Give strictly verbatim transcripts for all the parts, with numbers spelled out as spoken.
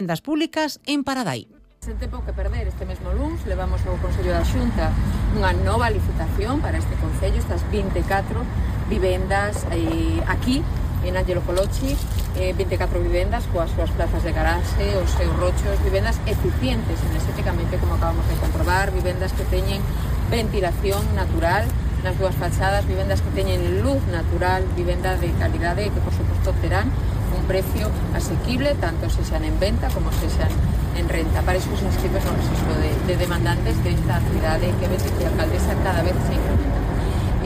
vivendas públicas en Paradai. Sen tempo que perder, este mesmo luns levamos ao Consello da Xunta unha nova licitación para este Concello, estas vinte e catro vivendas eh, aquí en Ángelo Colochi, eh, vinte e catro vivendas coas súas plazas de garaxe, os seus rochos, vivendas eficientes enerxéticamente, como acabamos de comprobar, vivendas que teñen ventilación natural nas dúas fachadas, vivendas que teñen luz natural, vivenda de calidade e que, por suposto, terán un precio asequible, tanto se xan en venta como se xan en renta. Para iso se inscribe no registro de, de demandantes desta cidade que a alcaldesa cada vez se incrementa.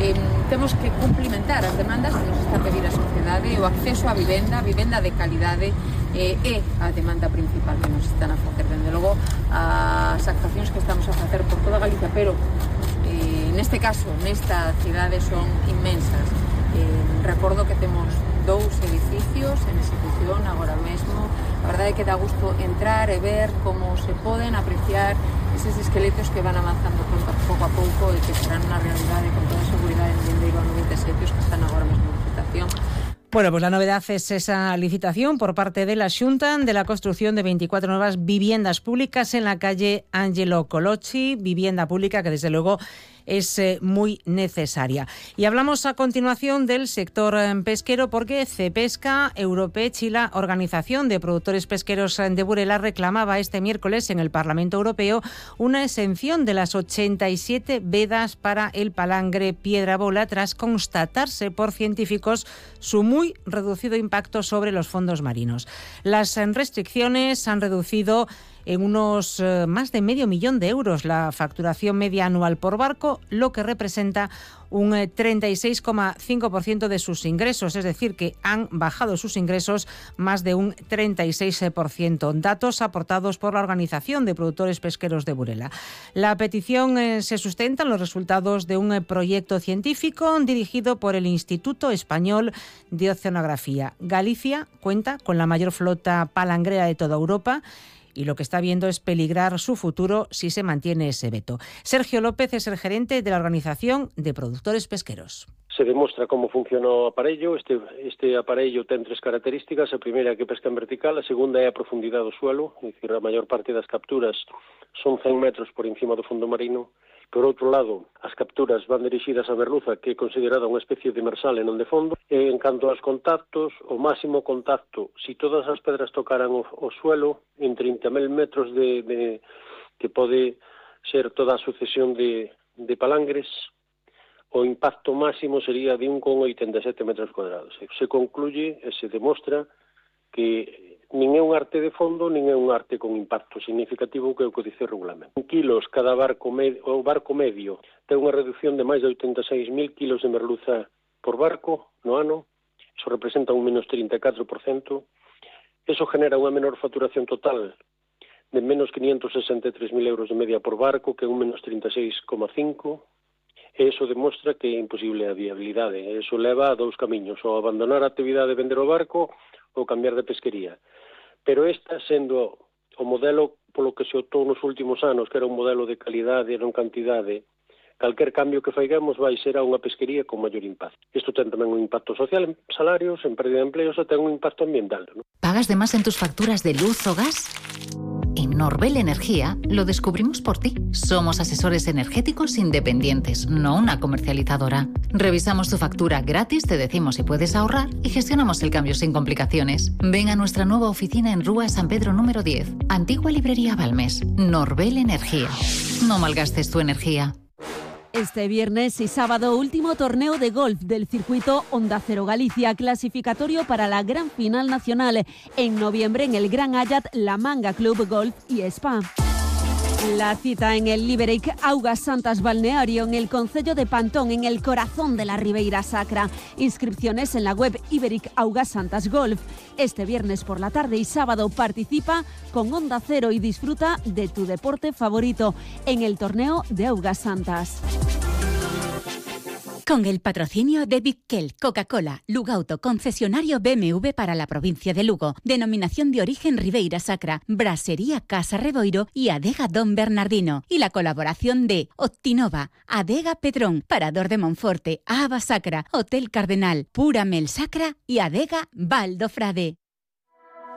Eh, temos que cumplimentar as demandas que nos está a pedir a sociedade, o acceso á vivenda, a vivenda de calidade eh, é a demanda principal que nos están a facer. Dende logo, as actuacións que estamos a facer por toda Galicia, pero eh, neste caso, nesta cidade son inmensas. Eh, recordo que temos dous edificios en execución agora mesmo. A verdade é que dá gusto entrar e ver como se poden apreciar eses esqueletos que van avanzando pouco a pouco e que serán unha realidade con toda a seguridade en Lindeiro a noventa e sete os que están agora mesmo en licitación. Bueno, pues la novedad es esa licitación por parte de la Xunta de la construcción de veinticuatro nuevas viviendas públicas en la calle Ángelo Colochi, vivienda pública que desde luego es eh, muy necesaria. Y hablamos a continuación del sector eh, pesquero porque Cepesca Europech y la Organización de Productores Pesqueros de Burela reclamaba este miércoles en el Parlamento Europeo una exención de las ochenta y siete vedas para el palangre piedra bola tras constatarse por científicos su muy reducido impacto sobre los fondos marinos. Las restricciones han reducido en unos eh, más de medio millón de euros la facturación media anual por barco, lo que representa un eh, treinta y seis coma cinco por ciento de sus ingresos, es decir, que han bajado sus ingresos más de un treinta y seis por ciento. Datos aportados por la Organización de Productores Pesqueros de Burela. La petición eh, se sustenta en los resultados de un eh, proyecto científico dirigido por el Instituto Español de Oceanografía. Galicia cuenta con la mayor flota palangrera de toda Europa y lo que está viendo es peligrar su futuro si se mantiene ese veto. Sergio López es el gerente de la Organización de Productores Pesqueros. Se demostra como funciona o aparello. Este, este aparello ten tres características. A primeira é que pesca en vertical, a segunda é a profundidade do suelo, é dicir, a maior parte das capturas son cen metros por encima do fondo marino. Por outro lado, as capturas van dirixidas a merluza, que é considerada unha especie de demersal e non de fondo. E en canto aos contactos, o máximo contacto, si todas as pedras tocaran o, o suelo, en trinta mil metros de, de que pode ser toda a sucesión de, de palangres, o impacto máximo sería de un coma oitenta e sete metros cuadrados. Se concluye e se demostra que nin é un arte de fondo, nin é un arte con impacto significativo, que é o que dice o regulamento. En kilos, cada barco medio, o barco medio ten unha reducción de máis de oitenta e seis mil kilos de merluza por barco no ano. Iso representa un menos trinta e catro por cento. Eso genera unha menor facturación total de menos quinientos sesenta e tres mil euros de media por barco, que é un menos trinta e seis coma cinco. E iso demostra que é imposible a viabilidade. Eso leva a dous camiños, ou abandonar a actividade de vender o barco ou cambiar de pesquería. Pero esta, sendo o modelo polo que se optou nos últimos anos, que era un modelo de calidade e non cantidade, calquer cambio que faigamos vai ser a unha pesquería con maior impacto. Isto ten tamén un impacto social en salarios, en pérdida de empleos, e ten un impacto ambiental, ¿no? ¿Pagas de más en tus facturas de luz o gas? En Norbel Energía lo descubrimos por ti. Somos asesores energéticos independientes, no una comercializadora. Revisamos tu factura gratis, te decimos si puedes ahorrar y gestionamos el cambio sin complicaciones. Ven a nuestra nueva oficina en Rúa San Pedro número diez, antigua librería Balmes. Norbel Energía. No malgastes tu energía. Este viernes y sábado, último torneo de golf del circuito Onda Cero Galicia, clasificatorio para la gran final nacional. En noviembre en el Gran Ayat, La Manga Club Golf y Spa. La cita en el Iberic Augas Santas Balneario, en el concello de Pantón, en el corazón de la Ribeira Sacra. Inscripciones en la web Iberic Augas Santas Golf. Este viernes por la tarde y sábado participa con Onda Cero y disfruta de tu deporte favorito en el torneo de Augas Santas. Con el patrocinio de Bickel, Coca-Cola, Lugauto, concesionario B M W para la provincia de Lugo, denominación de origen Ribeira Sacra, Brasería Casa Reboiro y Adega Don Bernardino, y la colaboración de Optinova, Adega Pedrón, Parador de Monforte, Ava Sacra, Hotel Cardenal, Pura Mel Sacra y Adega Valdo Frade.